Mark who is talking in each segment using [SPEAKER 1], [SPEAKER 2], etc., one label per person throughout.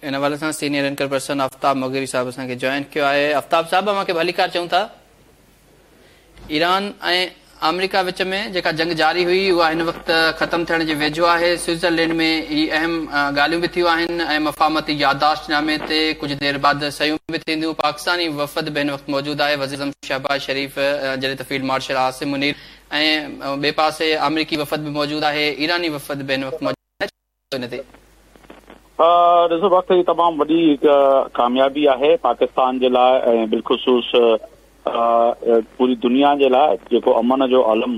[SPEAKER 1] ان حوالي سان senior anchor person آفتاب مغيري صاحب اسان کي جوائن ڪيو آهي. آفتاب صاحب اوهان کي ڀليڪار چئون ٿا. ايران ۽ آمريڪا وچ ۾ جيڪا جنگ جاري هئي اها هن وقت ختم ٿيڻ جي ويجهو آهي. سوئٽزرلينڊ ۾ هي اهم ڳالهيون به ٿيون آهن ۽ مفاهمتي يادداشت نامي تي ڪجهه دير بعد صحيحون به ٿينديون. پاڪستاني وفد به هن وقت موجود آهي. وزيراعظم شهباز شريف جڏهن ته فيلڊ مارشل عاصم منير ۽ ٻئي پاسي آمريڪي وفد به موجود آهي. ايراني وفد به هن وقت موجود آهي. ان تي.
[SPEAKER 2] ڏسو وقت هي تمام وڏي هڪ ڪاميابي آهي پاڪستان جي لاء ۽ بالخصوص پوري دنيا جي لاء جيڪو امن جو علم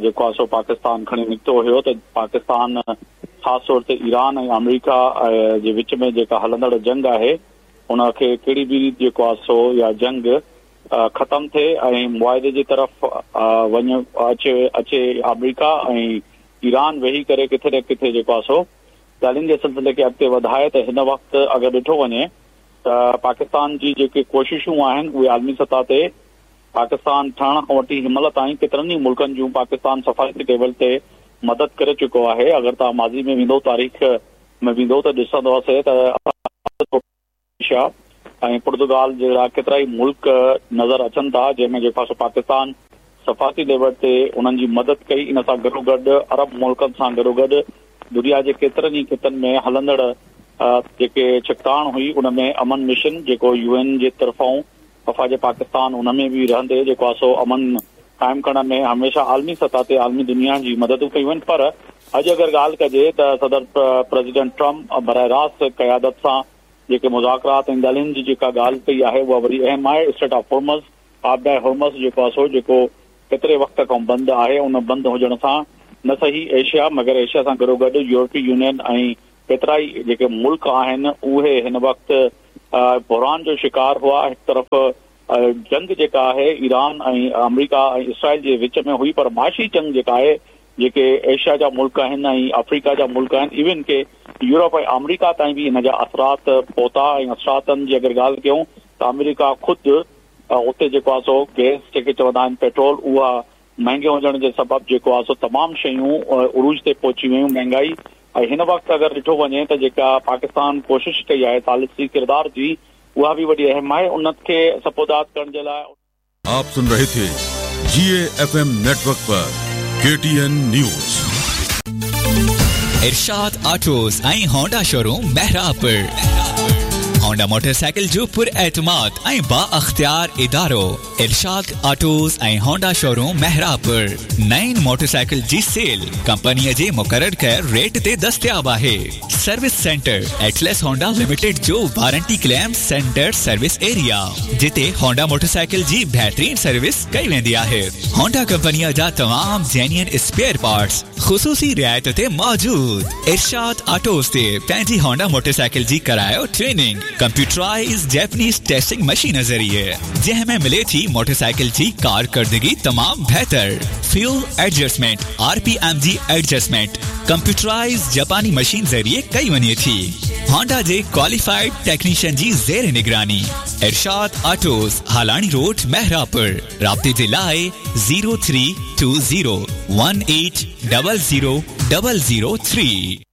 [SPEAKER 2] جيڪو آهي سو پاڪستان کڻي نڪتو هيو ته پاڪستان خاص طور تي ايران ۽ آمريڪا جي وچ ۾ جيڪا هلندڙ جنگ آهي ان کي ڪهڙي به ريت جيڪو آهي سو اها جنگ ختم ٿئي ۽ معاهدي جي طرف وڃ اچي اچي آمريڪا ۽ ايران ويهي ڪري ڪٿي نه ڪٿي جيڪو آهي سو ڳالهين جي سلسلي کي اڳتي وڌائي ته هن وقت اگر ڏٺو وڃي ته پاڪستان جي جيڪي ڪوششون آهن اهي عالمي سطح تي پاڪستان ٺهڻ کان وٺي هن مهل تائين ڪيترن ئي ملڪن جون پاڪستان سفارتي ليول تي مدد ڪري چڪو آهي اگر توهان ماضي ۾ ويندو تاريخ ۾ ويندو ته ڏسندوسي ته ايشيا ۽ پرتگال جهڙا ڪيترائي ملڪ نظر اچن ٿا جنهن ۾ جيڪو آهي سو پاڪستان سفارتي ليول تي انهن جي مدد ڪئي ان سان گڏوگڏ عرب ملڪن سان گڏوگڏ دنيا جي ڪيترن ئي خطن ۾ هلندڙ جيڪي ڇڪتاڻ هئي ان ۾ امن مشن جيڪو يو اين جي طرفان افواج پاڪستان ان ۾ به رهندي جيڪو آهي سو امن قائم ڪرڻ ۾ هميشه عالمي سطح تي عالمي دنيا جي مددون ڪيون آهن پر اڄ اگر ڳالهه ڪجي ته صدر پريزيڊنٽ ٽرمپ براه راست قيادت سان جيڪي مذاڪرات ۽ ڳالهين جي جيڪا ڳالهه ڪئي آهي اها وڏي اهم آهي اسٽريٽ آف هرمز آبدائي هرمز جيڪو آهي سو جيڪو ڪيتري وقت کان بند آهي ان بند هجڻ سان نه صحيح ايشيا مگر ايشيا سان گڏوگڏ يورپي يونين ۽ ڪيترائي جيڪي ملڪ آهن اهي هن وقت بحران جو شڪار هئا هڪ طرف جنگ جيڪا آهي ايران ۽ آمريڪا ۽ اسرائيل جي وچ ۾ هئي پر معاشي جنگ جيڪا آهي جيڪي ايشيا جا ملڪ آهن ۽ آفريڪا جا ملڪ آهن ايون ڪي يورپ ۽ آمريڪا تائين به ان جا اثرات پهتا ۽ اثراتن جي اگر ڳالهه ڪيون ته آمريڪا خود اتي جيڪو آهي سو گئس جيڪي چوندا آهن پيٽرول اها مهنگي هجڻ جي سبب جيڪو آهي سو تمام شيون عروج تي پهچي ويون مهنگائي ۽ هن وقت اگر ڏٺو وڃي ته جيڪا پاڪستان ڪوشش ڪئي آهي ثالثي ڪردار جي اها به وڏي اهم آهي ان کي سپوداد ڪرڻ جي لاء
[SPEAKER 3] آپ سن رهي ٿي جي اي ايف ايم نيٽورڪ پر K T N news.
[SPEAKER 4] Irshad autos ۽ Honda showroom Mehrabpur Honda motorcycle جو پر اعتماد ۽ با اختيار ادارو ارشاد آٽوز ۽ هونڊا شوروم محرابپور نئين موٽرسائيڪل جي سيل ڪمپني جي مقرر ڪيل ريٽ تي دستياب آهي service centre Atlas Honda limited جو warranty claim centre service area جتي هونڊا موٽرسائيڪل جي بهترين سروس ڪئي ويندي آهي هونڊا ڪمپني جا تمام جينيئن اسپيئر پارٽس خصوصي رعايت تي موجود ارشاد آٽوز تي پنهنجي هونڊا موٽرسائيڪل جي ڪرايو training computerise Japanese testing machine ذريعي جنهن ۾ ملي ٿي موٽرسائيڪل جي ڪارڪردگي تمام بهتر fuel adjustment R P M جي ايڊجسٽمينٽ ڪمپيوٽرائز جاپاني مشين ذريعي ڪئي وڃي ٿي هونڊا جي ڪواليفائيڊ ٽيڪنيشن جي زير نگراني ارشاد آٽوز هالاڻي روڊ محرابپور رابطي جي لاء 0320 18000 3.